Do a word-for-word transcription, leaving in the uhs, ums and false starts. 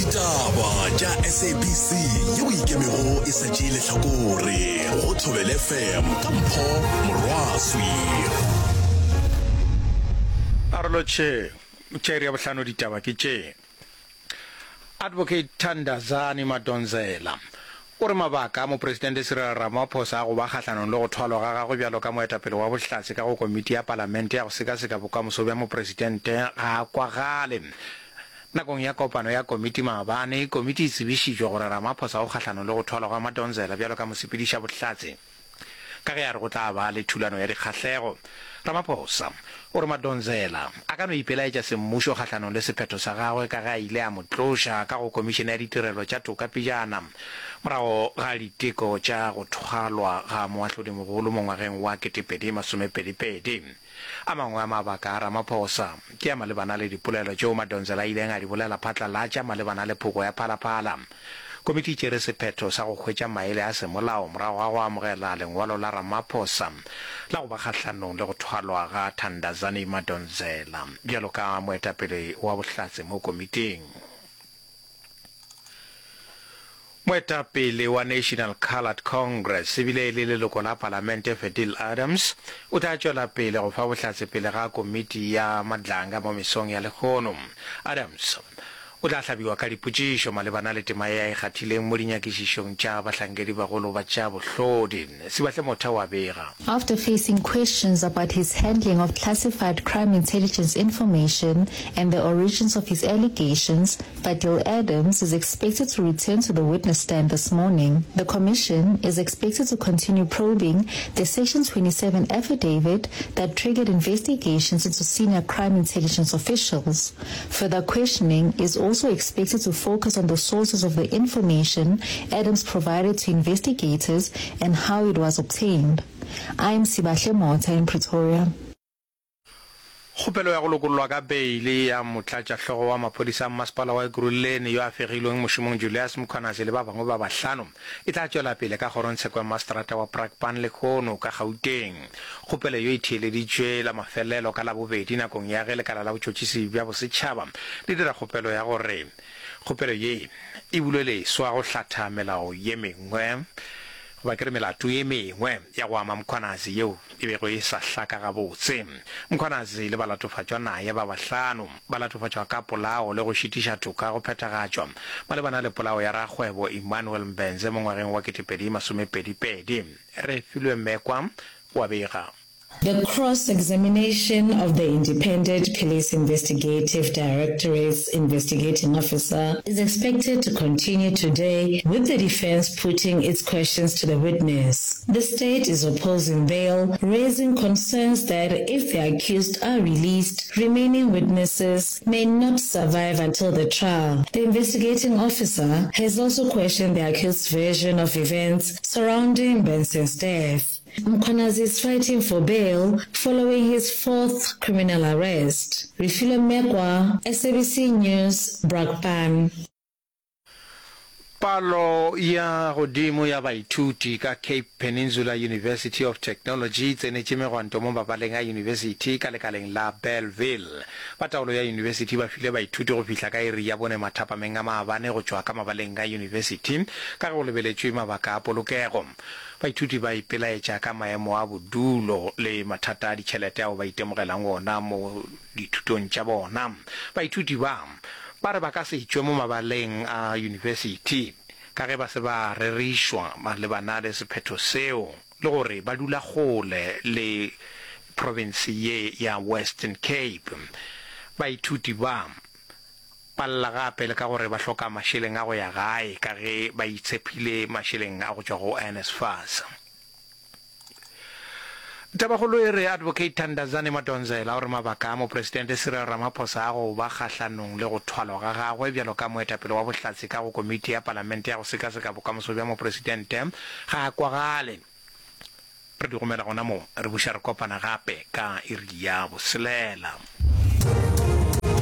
Ditaba tša S A B C yeo ikemego e sa tšee lehlakore go Thobela F M ka Mpho Morwaswi. Arolotšhe tša iri ya bohlano. Ditaba ke tše: Advocate Thandazani Madonsela o re mabaka a Mopresidente Cyril Ramaphosa a go ba kgahlanong le go thwalwa ga gagwe bjalo ka moetapele wa bohlatse ka go komiti ya palamente ya go sekaseka bokamoso bja mopresidente ga a kwagale. Nakong ya kopano ya komiti maabane, komiti e tsebišitšwe gore Ramaphosa o kgahlanong le go thwalwa ga Madonsela bjalo ka mosepediša bohlatse ka ge a re go tla ba le thulano ya dikgahlego. Ramaphosa o re Madonsela a ka no ipelaetša semmušo kgahlanong le sephetho sa gagwe ka ge a ile a mo tloša ka go Komišene ya Ditirelo tša Toka pejana morago ga diteko tša go thwalwa ga moahlodimogolo mo ngwageng wa ketepedi masomepedi pedi. A mangwe a mabaka a Ramaphosa ke a malebana le dipolelo tšeo Madonsela a ileng a di bolela phatlalatša malebana le phoko ya Phalaphala. Komiti e tšere sephetho sa go hwetša maele a semolao morago ga go amogela lengwalo la Ramaphosa la go ba kgahlanong le go thwalwa ga Thandazani Madonsela bjalo ka moetapele wa bohlatse mo komiting. Moetapele wa National Coloured Congress ebile e le leloko la palamente Fadiel Adams o tla tšwela pele go fa bohlatse pele ga komiti ya Madlanga mo mesong ya lehono. Adams o tla hlabiwa ka dipotšišo malebana le tema ye a e kgathileng mo dinyakišišong tša bahlankedi bagolo ba tša bohlodi. Sibahle Motha wa bega. After facing questions about his handling of classified crime intelligence information and the origins of his allegations, Fadiel Adams is expected to return to the witness stand this morning. The commission is expected to continue probing the Section twenty-seven affidavit that triggered investigations into senior crime intelligence officials. Further questioning is also expected to focus on the sources of the information Adams provided to investigators and how it was obtained. I'm Sibahle Mota in Pretoria. Kgopelo ya go lokollwa ka beile ya motlatšahlogo wa maphodisa a mmasepala wa Ekurhuleni yo a fegilweng mošomong Julius Mkhwanazi le ba bangwe ba bahlano e tla tšwela pele ka kgorongtsheko ya maseterata wa Brakpan lehono ka Gauteng. Kgopelo yo e theeleditšwe la mafelelo ka Labobedi nakong ya ge lekala la botšhotšhisi bja bosetšhaba le dira kgopelo ya gore kgopelo ye e bulwe leswa go hlatha melao ye mengwe goba ke re melato ye mengwe ya go ama Mkhwanazi yeo e bego e sa hlaka gabotse. Mkhwanazi le balatofatšwa naye ba bahlano ba latofatšwa ka polao le go šitiša toka go phethagatšwa malebana le polao ya rakgwebo Emmanuel Mbense mo ngwageng wa ketepedi masomepedi pedi. Refilwe Mekwa wa bega. The cross-examination of the Independent Police Investigative Directorate's investigating officer is expected to continue today, with the defense putting its questions to the witness. The state is opposing bail, raising concerns that if the accused are released, remaining witnesses may not survive until the trial. The investigating officer has also questioned the accused's version of events surrounding Benson's death. Mkhwanazi is fighting for bail following his fourth criminal arrest. Refilwe Mekwa, S A B C News, Brakpan. Palo ya godimo ya baithuti ka Cape Peninsula University of Technology e tsenetše megwanto mo mabaleng a yunibesithi ka lekaleng la Bellville. Ba taolo ya yunibesithi ba file baithuti go fihla ka iri ya bone mathapameng a maabane go tšwa ka mabaleng a yunibesithi ka ge go lebeletšwe mabaka a polokego. Baithuti ba ipelaetša ka maemo a bodulo le mathata a ditšhelete ao ba itemogelang ona mo dithutong tša bona. Baithuti ba ba re ba ka se tšwe mo mabaleng a yunibesithi ka ge ba se ba rerišwa malebana le sephetho seo le gore ba dula kgole le province ye ya Western Cape. Baithuti ba ba lla gape le ka gore ba hloka mašeleng a go ya gae ka ge ba itshepile mašeleng a go tšwa go N S F A S. Tabakgolo e re Advocate Thandazani Madonsela o re mabaka a Mopresidente Cyril Ramaphosa a go ba kgahlanong le go thwalwa ga gagwe bjalo ka moetapele wa bohlatse ka go komiti ya palamente ya go sekaseka bokamoso bja mopresidente ga a kwagale. Re di gomela gona mo, re buša re kopana gape ka iri ya boselela.